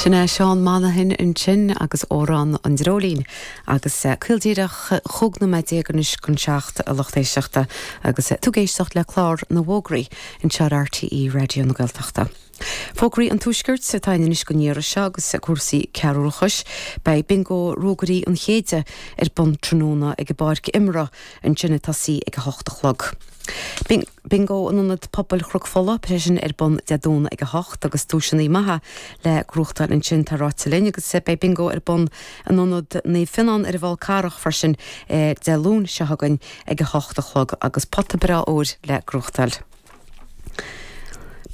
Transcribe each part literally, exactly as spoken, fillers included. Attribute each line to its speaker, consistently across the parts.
Speaker 1: Sin é Seán Monaghan ansin agus Amhrán an Dreoilín agus eh, caol díreach chúig nóiméad déag anois chun seacht a lucht éisteachta agus eh, tú ag éisteacht le clár na bhfógraí anseo ar RTÉ Raidió na Gaeltachta. Fógraí an tuaiscirt atá anois don iarraidh seo agus cúrsaí cearúchais, Beidh bingo Ruagairí an Chéide ar bun tráthnóna ag an bpáirc imeartha ansin ag tosaí ag a hocht a chlog. Bingo in Ionad Pobail Chnoc Fola freisin ar bun Dé Domhnaigh ag a hocht agus duaiseanna maithe le gnóthachtáil ansin tá ráite linn agus beidh bingo ar bun in Ionad Naomh Fionnán ar an bhFál Carrach freisin eh, Dé Luain seo chugainn ag a hocht a chlog agus pota breá óir le gnóthachtáil.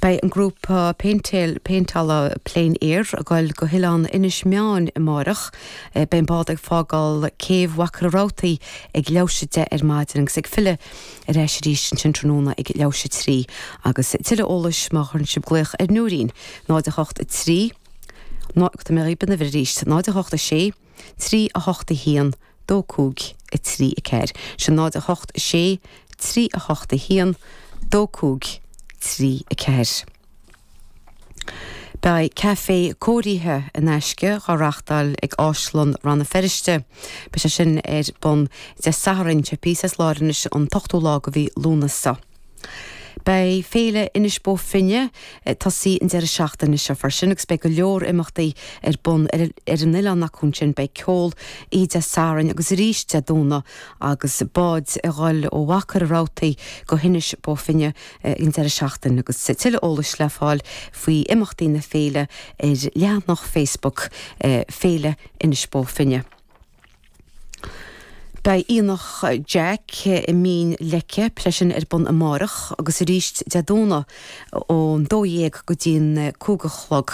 Speaker 1: Beidh an grúpa péintéil péinteála Plein Air ag dul go hoileán Inis Meáin amárach, eh, beidh an bád ag fágáil céibh Mhachaire Rabhartaigh ag leathuair tar éis a deich ar maidin agus ag filleadh ar ais arís ansin tráthnóna ag leathuair tar éis a trí agus tuilleadh eolais má chuireann sibh glaoch ar Nóirín náid a hocht a trí Tá mé bin arís náid a hocht a sé, trí a hocht a haon, dó cúig a trí a ceathair. Sin náid a hocht a sé, trí a hocht a haon, dó cúig trí a ceathair. Beidh caife cóirithe in aisce á reáchtáil ag Áislann Rann na Feirste. Beidh sé sin ar bun Dé Sathairn sé pí láris an t-ochtú lá de mhí Lúnasa. Beidh féile Inis Bó Finne ag tosaí an deireadh seachtaine seo freisin agus beidh go leor imeachtaí ar bun ar ar an oileán acu sin beidh ceol oíche Dé Sathairn agus arís Dé Domhnaigh agus báid ag dul ó Mhachaire Rabhartaigh go hInis Bó Finne an deireadh seachtaine agus tuilleadh eolais le fáil faoi imeachtaí na féile ar leathanach Facebook eh, Féile Inis Bó Finne. Beidh Aonach Jack i Mín Leice freisin ar bun amárach agus arís Dé Domhnaigh ón dó dhéag go dtí'n cúig a chlog.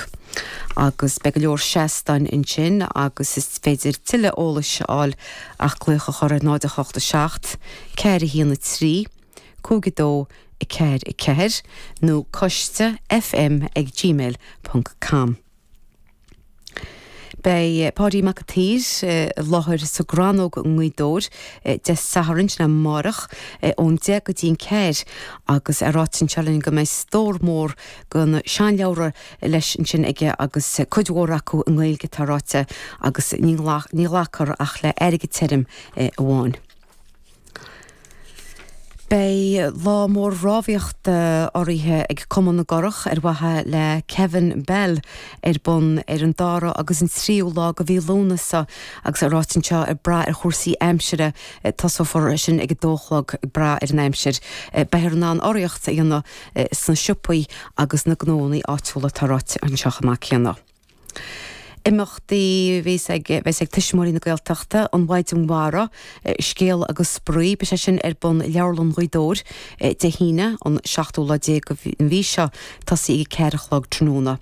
Speaker 1: Agus beidh go leor seastáin ansin agus is féidir tuilleadh eolais a fháil ach glaoch a chur ar náid a hocht a seacht, ceathair a haon a trí, cúig a dó a ceathair a ceathair nó coiste fm ag gmail ponc com. Beidh Páidí Mac an tSaoir i láthair sa gCrannóg i nGaoth Dobhair Dé Sathairn sin amárach ón deich go dtí'n ceathair agus é ráite anseo linn go mbeidh stór mór de na seanleabhra leis ansin aige agus cuid mhór acu i nGaeilge tá ráite agus ní ní ghlacfar ach le airgead tirim amháin. Beidh lá mór rámhaíochta urraithe ag Cumann na gCurach ar mhaithe le Kevin Bell ar bun ar an dara agus an tríú lá de mhí Lúnasa agus é ráite anseo ag brath ar chúrsaí aimsire tosófar sin ag a dó a chlog ag brath ar an aimsir. Beifear in ann urraíocht a dhéanamh sna siopaí agus na gnónna áitiúla tá ráite anseo amach céanna. Imeachtaí bheas ag bheas ag Tuismitheoirí na Gaeltachta an Mhaighdean Mhara scéal agus spraoi beidh sé sin ar bun Leabharlann Ghaoth Dobhair Dé hAoine an seachtú lá déag an mhí seo tosaí ag ceathair a chlog tráthnóna.